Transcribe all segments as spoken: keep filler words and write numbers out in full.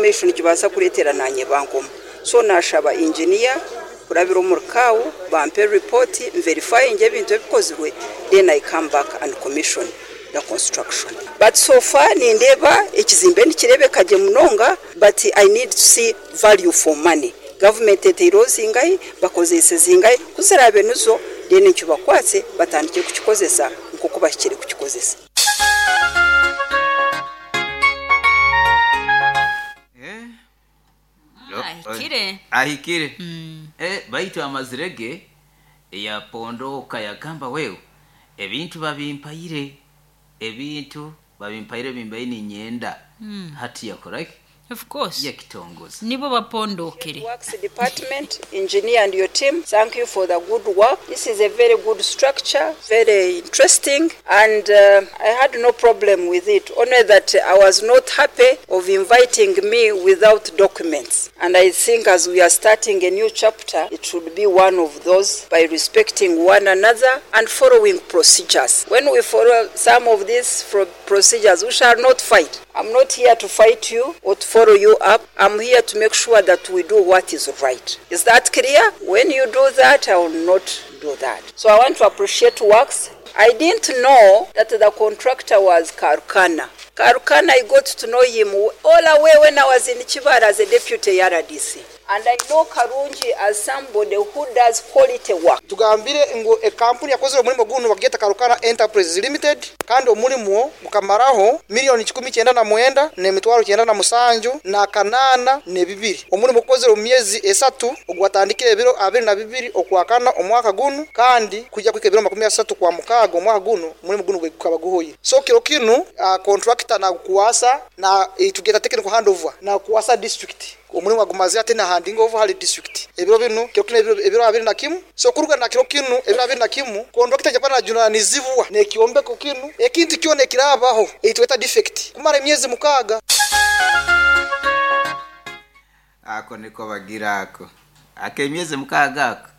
Omumaisho nikibaasa kureetera nanye bankoma. So nashaba engineer kurabira omuri C A O bampe report, verifying ebintu ebikozirwe, then I come back and commission the construction. But so far nindeeba ekizimbe nikireebeka gye munonga, but I need to see value for money. Government eteireho zingahi, bakozeise zingahi? Kuziraabe nizo, then nkibakwatse batandike kukikozesa nk'oku bahikire kukikozesa. Eh, Ahikire. Ahikire. Eh, baitu amazire ge yapondoka, yagamba, wewe, ebintu babimpaire, ebintu babimpaire bimbaire ninyenda hati yakoraki? Of course. Yakitongoza. Nibo bapondokere. Works Department, engineer and your team, thank you for the good work. This is a very good structure, very interesting, and uh, I had no problem with it. Only that I was not happy of inviting me without documents. And I think as we are starting a new chapter, it should be one of those by respecting one another and following procedures. When we follow some of these fro- procedures, we shall not fight. I'm not here to fight you or to follow you up. I'm here to make sure that we do what is right. Is that clear? When you do that, I will not do that. So I want to appreciate works. I didn't know that the contractor was Karukana. Karukana, I got to know him all the way when I was in Kibaale as a deputy R D C. And I know Karungi as somebody who does quality work. Tugambire ngu ekampuni yakozere omulimo gunu bageta Karukana Enterprises Limited, kandi omulimo gukamaraho miliyoni kikumi kyenda na mwenda n'emitwaro kyenda na musanju na kanaana n'ebibiri. Omulimo gukozere omu myezi esatu, ogwatandikire ebiro abiri na bibiri okwakana omwaka gunu kandi kujya kuhika ebiro makumi asatu kwa mukaaga omwaka guno, omulimo gunu gukaba guhoire. So kiro kinu uh, contractor nagukwasa na tugeta technical handover, nakukwasa district. Omulimu agumaze ate na handing over hali district ebiro bino, kiro kino, ebiro, ebiro abiri na kimu. So kuruga na kiro kinu, ebiro abiri na kimu, contractor japana junanizibwa nekiombeko kinu, ekintu kyona ekirabaho eitweta defect kumara emyezi mukaaga. Ako niko bagira ako akemyezi mukaaga ako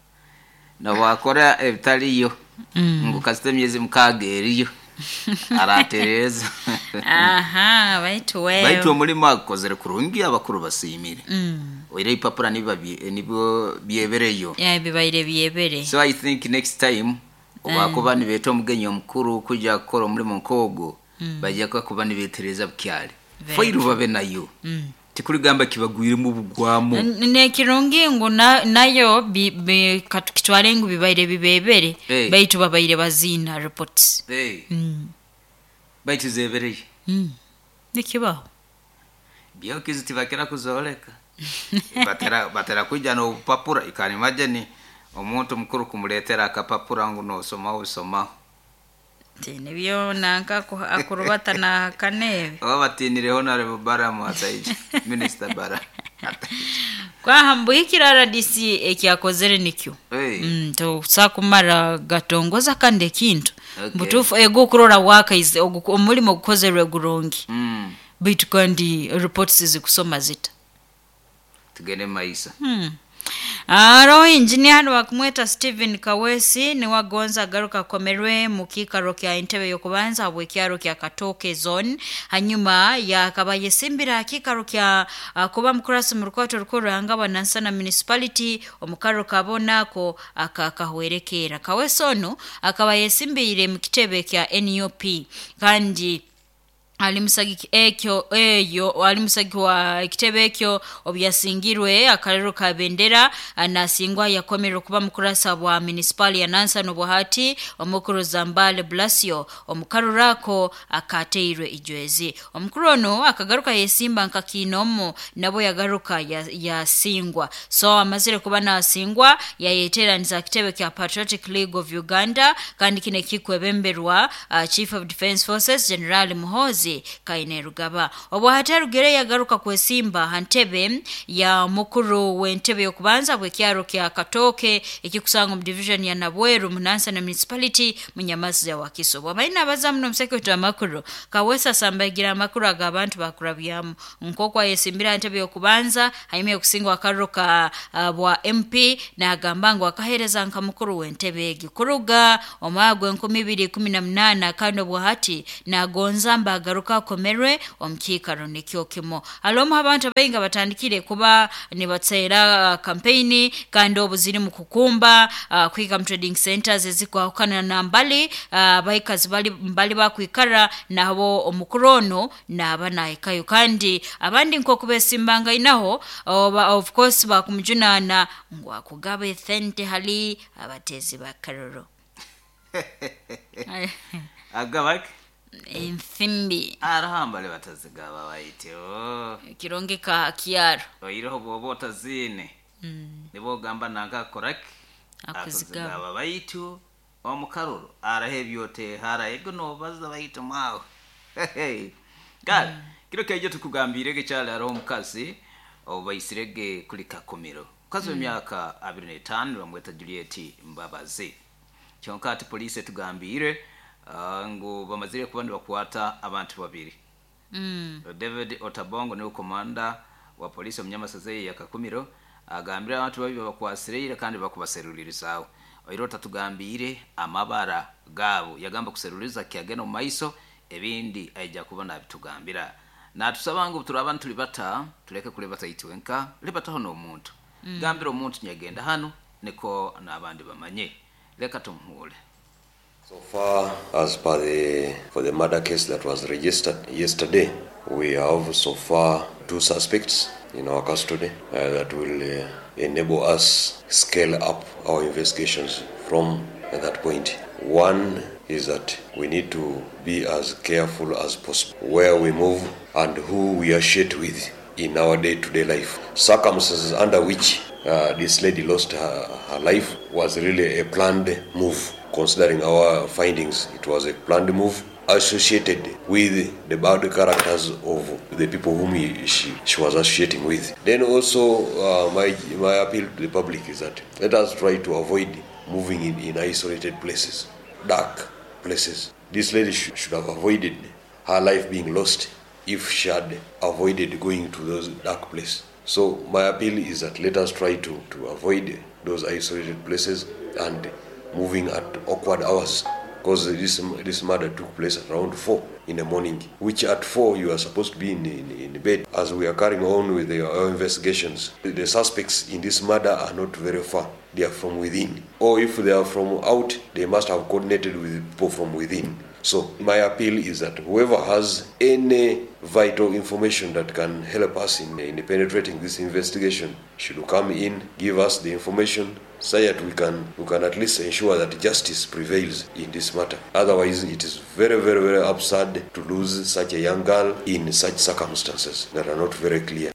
nobwakora ebitaliyo mm. Ngu kasita emyezi mukaaga eriyo aratereza. Aha, baitu wewe. Baitu omulimu agukozere kurungi, abakuru basiimire mm. Oire ipapura niba bye- nibyo byebereyo. Ya, bibaire byebere. So I think next time obakuba nibeeta omugenyi omukuru kuja kukora omulimu nk'ogwo, bajja kuba nibetereza bukyali. Very. Fairu babe nayo tikuligamba kibagwiremu bugwamu. N- nekirungi ngu na- nayo bi- bi- katukitwale ngu bibaire bibebere. Hey. Baitu babaire baziina reports. Hey, mm. baitu zebereye. mm. nikibaho. Byokizi tibakira kuzoleka, batera batera kuja n'obupapura. You can imagine omuntu mukuru kumuletera akapapura ngu nosomaho bisomaho. Ti nibyo nanka aku- akurubata nahakanebe. Oba batinire Honorable Balaam Asaija, Minister Balaam. Kwaha mbuhikira R D C ekyakozere nikyo. Hey. mm, tosa kumara gatongoza kandi ekintu. Okay. Butuufu ego okurora wakaize ogu- omulimo gukozerwe gurungi, mm. baitu kandi reports zikusoma zita? Tugende maisa. Hmm. Aroho injinia hano bakumweta Stephen Kawesi, niwe agonza agaruka akomerwe mu kiikaro kya entebe y'okubanza habw'ekyaro kya Katooke Zone, hanyuma yakaba yesimbira akiikaro kya uh, kuba mukurasi mu rukwato rukuru Ruhangaba Nansana Municipality omu karro kabona ako akakahwerekeera. Kawesi ono akaba yesimbiire mu kitebe kya N U P kandi ali musagiki ekyo eyo ali musagiki wa ekitebe ekyo. Obu yasingirwe akarero ka bendera, nasingwa yakomerera okuba mukurasa bwa municipal ya Nansana obuhati omukuru Zambale Blasio omukaruro ako akateirwe ijwezi. Omukuru ono akagaruka yesimba nka kiinomo, nabo yagaruka yasingwa. So amazire kuba nasingwa, yayeteraniza kitebe kya Patriotic League of Uganda, kandi kino kikwebemberwa uh, Chief of Defense Forces General Muhoozi Kainerugaba. Obwo hatarugere yagaruka kwesimba ha ntebe ya mukuru w'entebe y'okubanza bw'ekyaro kya Katooke ekikusanga omu division ya Nabweru mu Nansana Municipality mu Nyamazi ya Wakiso. Bwabaine abaza muno omusekwetu amakuru, Kawesa asambagira amakuru ag'abantu bakurabyamu nk'oku ayesimbira ha ntebe y'okubanza hanyuma yokusingwa akaruro ka uh, bwa M P, nagamba ngu akahereza nka mukuru w'entebe egi kuruga omwaka gw'enkumi ibiri ikumi na munaana, kandi obwahati nagonza mba agaruke. Agaruka akomerwe omu kiikaro nikyo kimu. Halomu abantu abaingi batandikire kuba nibatera kampeyini kandi obu ziri mu kukumba uh, kwika mu trading centers ezikwahukana na mbali uh, baikazi bali mbali bakwikara nabo omukuru ono naba nahikayo kandi abandi nkoku besimbanga oba of course bakumujunana ngu akugaba esente hali abatezi ba karoro Agabaki ensimbi arahambale batazigaba baityo kirungi ka kyaro oireho bwoba otaziine mm. nibo ogamba nanka akoraki Akuzigaba. akuzigaba baitu omukaruru araho ebyoteha araego nobaza baitu mwawe kale kiro kaijo tukugambirege kyali hariho omukazi obaisirege kuli kakumiro mukazi w'emyaka abiri n'etaano bamweta Juliet Mbabazi. Kyonka ati poliisi etugambire ah, ngu bamazire kuba nibakwata abantu babiri. mm. David Otabongo niwe komanda wa polisi omunyamasaza ya Kakumiro agambire abantu babi babakwasireire kandi bakubaserulirizaaho. Oiro tatugambire amabara gaabo, yagamba kuseruliza kyagenda omu maiso, ebindi aija kuba nabitugambira. Natusaba ngu turaba ntulibata tuleke kulibata itwenka, libataho n'omuntu mm. Gambira omuntu nyagenda hano niko n'abandi bamanye. Leka tumuhule. So far, as per the for the murder case that was registered yesterday, we have so far two suspects in our custody uh, that will uh, enable us scale up our investigations from that point. One is that we need to be as careful as possible where we move and who we associate with in our day-to-day life. Circumstances under which uh, this lady lost her, her life was really a planned move. Considering our findings, it was a planned move associated with the bad characters of the people whom he, she, she was associating with. Then also, uh, my, my appeal to the public is that let us try to avoid moving in, in isolated places, dark places. This lady sh- should have avoided her life being lost if she had avoided going to those dark places. So my appeal is that let us try to, to avoid those isolated places and moving at awkward hours, because this, this murder took place at around four in the morning, which at four you are supposed to be in, in, in bed. As we are carrying on with the, our investigations, the suspects in this murder are not very far. They are from within. Or if they are from out, they must have coordinated with people from within. So my appeal is that whoever has any vital information that can help us in, in penetrating this investigation should come in, give us the information so that we can, we can at least ensure that justice prevails in this matter. Otherwise, it is very, very, very absurd to lose such a young girl in such circumstances that are not very clear.